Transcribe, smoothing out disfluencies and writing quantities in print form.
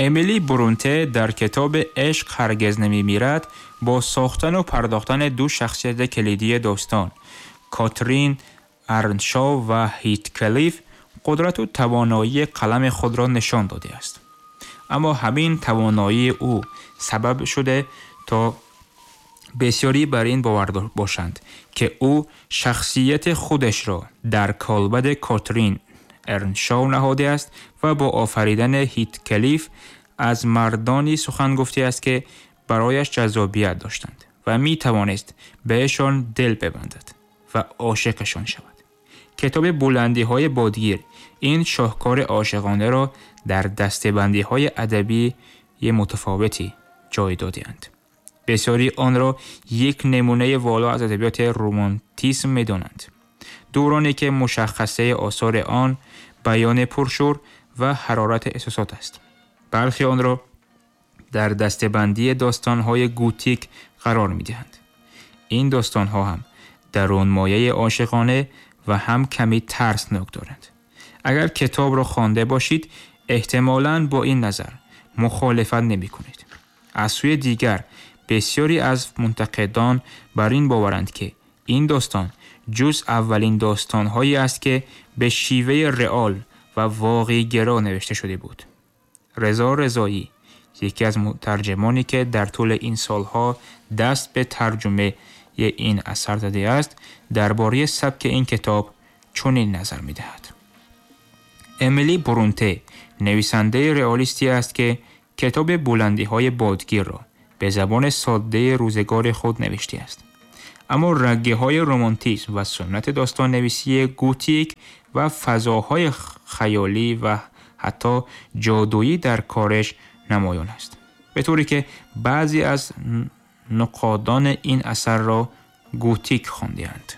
Эмили Брунте дар китоби «Ишқ ҳаргиз намемирад» бо сохтану пардохтани ду шахсияти калидии достон, Катрин Эрншоу ва Ҳитклиф, қудрату тавоноии қалами худро нишон додааст. Аммо ҳамин тавоноии ӯ сабаб шуда то бисёрӣ бар ин бовар бошанд, ки ӯ шахсияти худашро дар калбади Катрин Эрншоу наҳодааст ва бо офаридани Ҳитклиф аз мардони сухан гуфтааст, ки барояш ҷаззобият доштанд ва метавонист беашон дил бибандад ва ошиқашон шавад. Китоби «Буландиҳои бодгир» ин шоҳкори ошиқонаро дар дастабандиҳои адабии мутафовутӣ ҷой додаанд. Бисёре онро як намунаи воло аз адабиёти романтизм медонанд, давроне ки мушаххасаи осори он баёни пуршӯр ва ҳарорати эҳсосот аст. Бархе онро дар дастабандии достонҳои готик қарор медиҳанд. Ин достонҳо ҳам дарунмояи ошиқона ва ҳам каме тарснок доранд. Агар китобро хонда бошед, эҳтимолан бо ин назар мухолифат намекунед. Аз сӯи дигар, бисёре аз мунтақидон бар ин боваранд, ки ин достон ҷуз аввалин достонҳое аст, ки ба шеваи реал ва воқеъгаро навишта шуда буд. Резо Резоӣ, яке аз мутарҷимоне ки дар тӯли ин солҳо даст ба тарҷумаи ин асар задааст, дар бораи сабки ин китоб чунин назар медиҳад: Эмили Брунте нависандаи реалистӣ аст, ки китоби «Буландиҳои бодгир»-ро ба забони содаи рӯзгори худ навиштааст. Аммо рагҳои романтизм ва суннати достоннависии готик ва фазоҳои хаёлӣ ва ҳатто ҷодуӣ дар кораш намоён аст, ба тавре ки баъзе аз нуққодон ин асарро готик хондаанд.